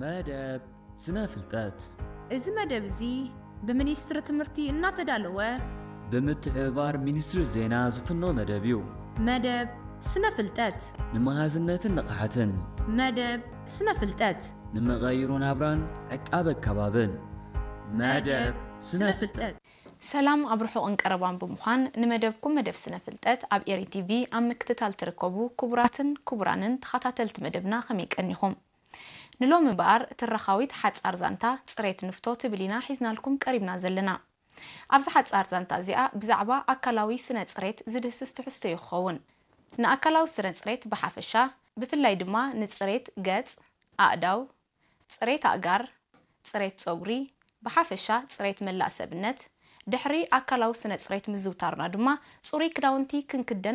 መደብ ስነ ፍልጠት። እዚ መደብ እዚ ብሚኒስትሪ ትምህርቲ እናተዳለወ ብምትሕብባር ሚኒስትሪ ዜና ዝፍኖ መደብ እዩ። መደብ ስነ ፍልጠት ንመሃዝነትን ንቕሓትን መደብ ስነ ፍልጠት ንመቐይሮ ናብራን ዕቃበ ከባብን መደብ ስነ ፍልጠት። ሰላም ኣብ ርሑቕን ቀረባን ብምዃን ንመደብኩም መደብ ስነ ፍልጠት ኣብ ኤሪ ቲቪ ኣብ ምክትታል ትርከቡ ክቡራትን ክቡራንን ተኸታተልቲ መደብና ከመይ ቀኒኹም? ንሎሚ እምበኣር ትረኻዊት ሓጻር ዛንታ ጽሬት ንፍቶ ትብል ኢና ሒዝናልኩም ቀሪብና ዘለና። ኣብዚ ሓጻር ዛንታ እዚኣ ብዛዕባ ኣካላዊ ስነ ጽሬት ዝድህስስ ትሕዝቶ እዩ ክኸውን። ንኣካላዊ ስነ ጽሬት ብሓፈሻ ብፍላይ ድማ ንጽሬት ገጽ፣ ኣእዳው፣ ጽሬት ኣእጋር፣ ጽሬት ጸጉሪ፣ ብሓፈሻ ጽሬት መላእ ሰብነት፣ ድሕሪ ኣካላዊ ስነ ጽሬት ምዝውታርና ድማ ጽሩይ ክዳውንቲ ክንክደን